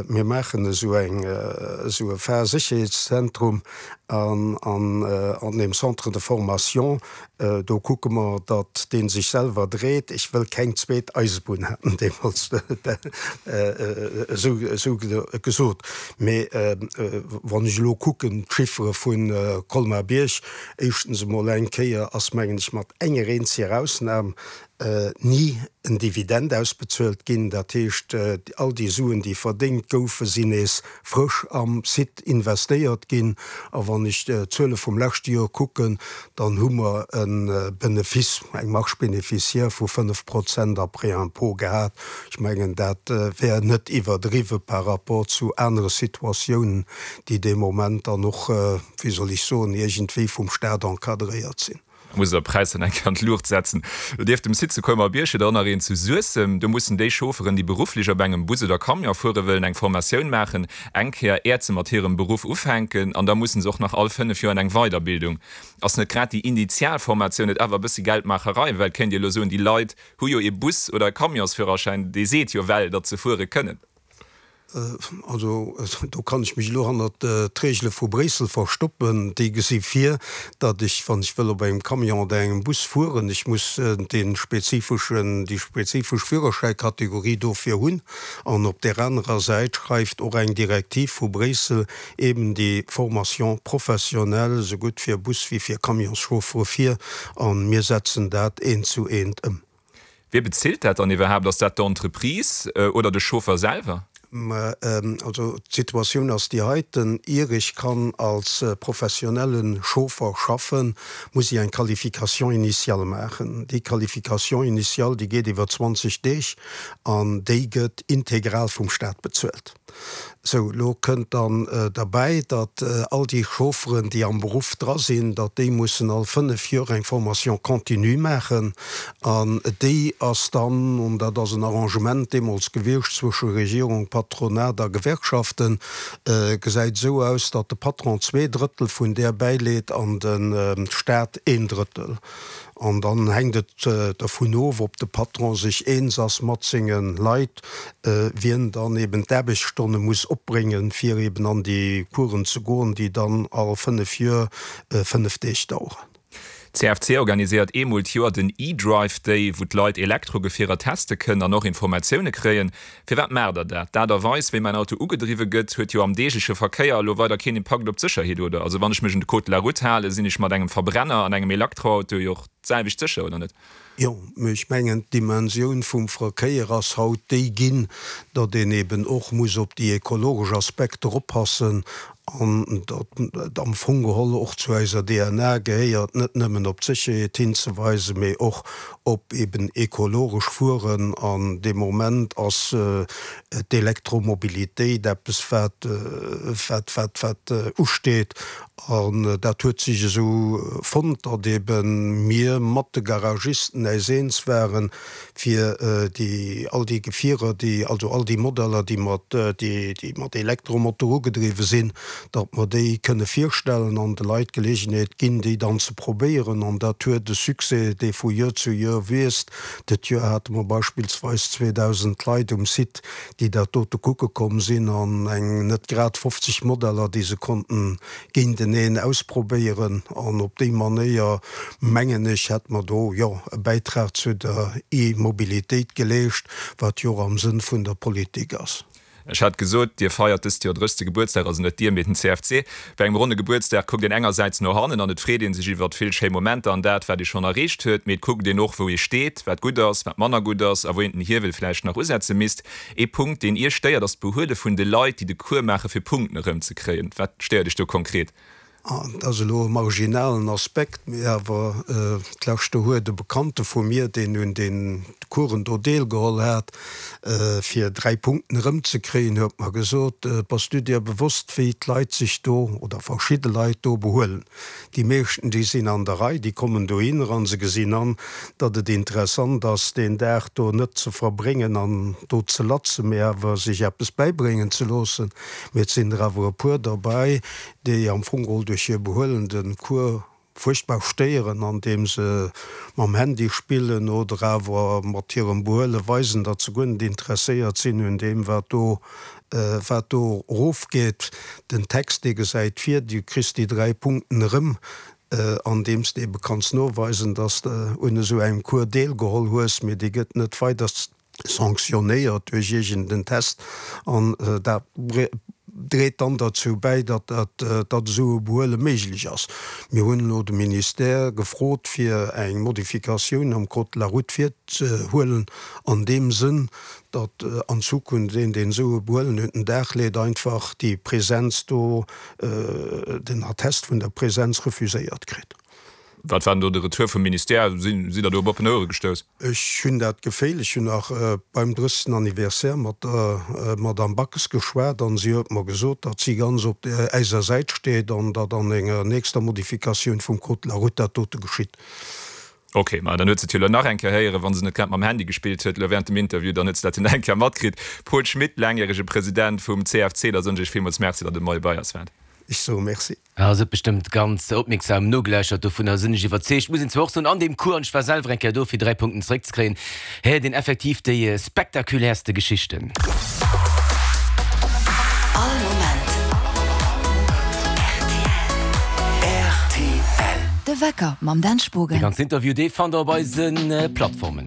Mir maachen esou eng, esou e Fahrsécherheetszentrum an an deem Centre de formation, do kucke mer, datt dee sech selwer dréit. Ech wëll keng zweet Eisebunn, hat en deemools esou esou gesot. Mee wann ech elo kucken, d'Chiffere vu Colmar-Bierg, éischtens emol eng Kéier ass, mengen ech, mat enger eenzeger Ausnam ni en Dividend ausbezuelt ginn. Dat heescht, all déi Suen, déi verdéngt goufen, sinn nees frësch am Site investéiert ginn. A wann ech d'Zuele vum leschte Joer kucken, dann hu mer e Benefice, eng Marge bénéficiaire vu 5 Prozent après impôt gehat. Ech mengen, dat wär net iwwerdriwwe par rapport zu anere Situatiounen, déi dee Moment dann och, wéi soll ech soen, iergendwéi vum Stat encadréiert sinn. Da muss der Präis dann eng Kéier an d'Luucht setzen. Nieft dem Site zu Colmar-Bierg huet der och nach een zu Suessem. Do mussen déi Chaufferen, déi berufflech op engem Bus oder Camion fuere wëllen, eng Formatioun maachen, eng Kéier, äert se mat hirem Beruff ufänken. An da mussen se och nach all 5 Joer an eng Weiderbildung. Ass net grad déi initial Formatioun net awer e bëssi Geldmaacherei? Well et kéint ee elo soen, déi Leit hu jo ee Bus oder e Camionsführerschäin, dee seet jo well, datt se fuere kënnen. Also do kann ech mech elo hannert d'Regele vu Bréissel verstoppen. Déi gesi vir, datt ech, wann ech wëll op engem Camion oder engem Bus fueren, ech muss dee spezifeschen, déi spezifesch Führerschäikategorie dofir hunn. An op där anerer Säit schreift och eng Direktiv vu Bréissel eben déi Formation professionnelle esougutt fir Bus wéi fir Camionschauffere vir. A mir setzen dat eent zu eent ëm. Wie bezilt dat dann iwwerhaapt? Ass dat d'Entreprise oder de Chauffer selwer? Also d'Situatioun ass déi heiten, Ier ech kann als professionelle Chauffer schaffen, muss ech eng Qualification initiale maachen. Déi Qualification initiale, déi geet iwwer 20 Deeg an déi gëtt integral vum Staat bezuelt. Sou, elo kënnt dann derbäi, datt all déi Chaufferen, déi am Beruff dra sinn, datt déi mussen all 5 Joer eng Formation continue maachen. An déi ass dann, an dat ass en Arrangement deemools gewiescht zwësche Regierung, Patronat a Gewerkschaften, gesäit esou aus, datt de Patron 2 Drëttel vun där bäileet an de Staat een Drëttel. An dann hänkt et dervun of, ob de Patron sech eens ass mat senge Leit, wien dann eben d'Aarbechtsstonne muss opbréngen, fir eben an déi Coursen ze goen, déi dann all 5 Joer 5 Deeg daueren. D'CFC organiséiert eemol d'Joer den E-Drive Day, wou d'Leit Elektrogefierer teste kënnen an och Informatioune kréien. Firwat maacht der dat? D'Aart a Weis, wéi mäin Auto ugedriwwe gëtt, huet jo am deegleche Verkéier elo weider keen Impakt op d'Sécherheet, oder? Also wann ech mech un de Code de la Route halen, sinn ech mat engem Verbrenner an engem Elektroauto jo och d'selwecht sécher, oder net? Jo, mee ech mengen, d'Dimensioun vum Verkéier ass haut déi ginn, datt een eben och muss op déi ekologesch Aspekter oppassen an datt et am Fong geholl och zu eiser DNA gehéiert, net nëmmen op d'Sécherheet hinzeweisen, mee och op eben ekologesch Fueren. An dee Moment ass d'Elektromobilitéit eppes, wat, wat, wat, wat usteet. An dat huet sech esou fonnt, datt eben mir mat de Garagisten äis eens waren, fir déi, all déi Gefierer, déi, also all déi Modeller, déi mat, déi mat Elektromotor ugedriwwe sinn, datt mer déi kënne virstellen an de Leit d'Geleegenheet ginn, déi dann ze probéieren. An dat huet e Succès, dee vu Joer zu Joer wiisst. Dat Joer hate mer beispillsweis 2.000 Leit um Site, déi dat dote kucke komm sinn an eng net grad 50 Modeller, déi se konnten géinteneen ausprobéieren. An op déi Manéier, mengen ech, hätt mer do, jo, e Bäitrag zu der E-Mobilitéit geleescht, wat jo och am Sënn vun der Politik ass. Ech hat gesot, Dir feiert dëst Joer 30. Gebuertsdag, also net Dir, mee den CFC. Bei engem ronne Gebuertsdag kuckt een engersäits no hannen an et freet ee sech iwwert vill schéi Momenter an dat, wat ee schonn erreecht huet, mee et kuckt een och, wou ee steet, wat gutt ass, wat manner gutt ass a wou een den Hiewel vläicht nach usetze misst. Ee Punkt, deen Iech stéiert, ass d'Behuele vun de Leit, déi de Cours maache fir Punkten erëmzekréien. Wat stéiert Iech do konkret? Dat ass elo e marginalen Aspekt, mee awer d'lescht Joer huet e Bekannte vu mir, deen un den Coursen do deelgeholl hat, fir 3 Punkten erëmzekréien, huet mer gesot, Bass du dir bewosst, wéi d'Leit sech do, oder verschidde Leit do behuelen? Déi meeschten, déi sinn an der Rei, déi kommen dohinner a se gesinn an, datt et interessant ass, deen Dag do net ze verbréngen an do ze latzen, mee awer sech eppes bäibréngen ze loossen. Mee et sinn der awer e puer derbäi, déi am Fong geholl duerch hir Behuelen de Cours fuerchtbar stéieren, andeem se mam Handy spillen oder awer mat hirem Behuele weisen, datt se guer net interesséiert sinn un deem, wat do. wat do erofgeet. Den Text, dee gesäit vir, du kriss déi 3 Punkten erëm, andeems de ebe kanns noweisen, dass de un esou engem Cours deelgeholl hues, mee dee gëtt net weider sanctionnéiert duerch iergend en Test an dat dréit dann derzou bäi, datt datt esou e Behuele méiglech ass. Mir hunn elo de Ministère gefrot, fir eng Modifikatioun am Code de la route virzehuelen an deem Sënn, datt an Zukunft een, deen esou e Behuelen un den Dag leet, einfach déi Präsenz do, den Attest vun der Präsenz refuséiert kritt. Wat war denn do de Retour vum Ministère? Sidd Der do op oppen Ouere gestouss? Ech hunn dat Geféil, ech hunn nach beim 30. Anniversaire mat der Madamm Backes geschwat an si huet mer gesot, datt si ganz op äiser Säit steet an datt an enger nächster Modifikatioun vum Code de la route dat dote geschitt. Ok, ma dann huet se et jo elo nach eng Kéier héieren, wa se net grad mam Handy gespillt huet elo während dem Interview, dann huet se dat jo nach eng Kéier matkritt. Paul Schmit, laangjärege President vum CFC, da soen ech Iech villmools Merci, datt Der de Moie bei eis waart. Ech soe Merci. Ass et bestëmmt ganz opmierksam nogeläuschert, dovunner sinn ech iwwerzeegt. Muss een zwar och soen, an deem Cours, an ech war selwer eng Kéier do fir 3 Punkten zeréckzekréien, héiert een effektiv déi spektakulärste Geschichten. All Moment rtl. De Wecker mam Dan Spogen. Dee ganzen Interview, dee fannt der op eise Plattformen.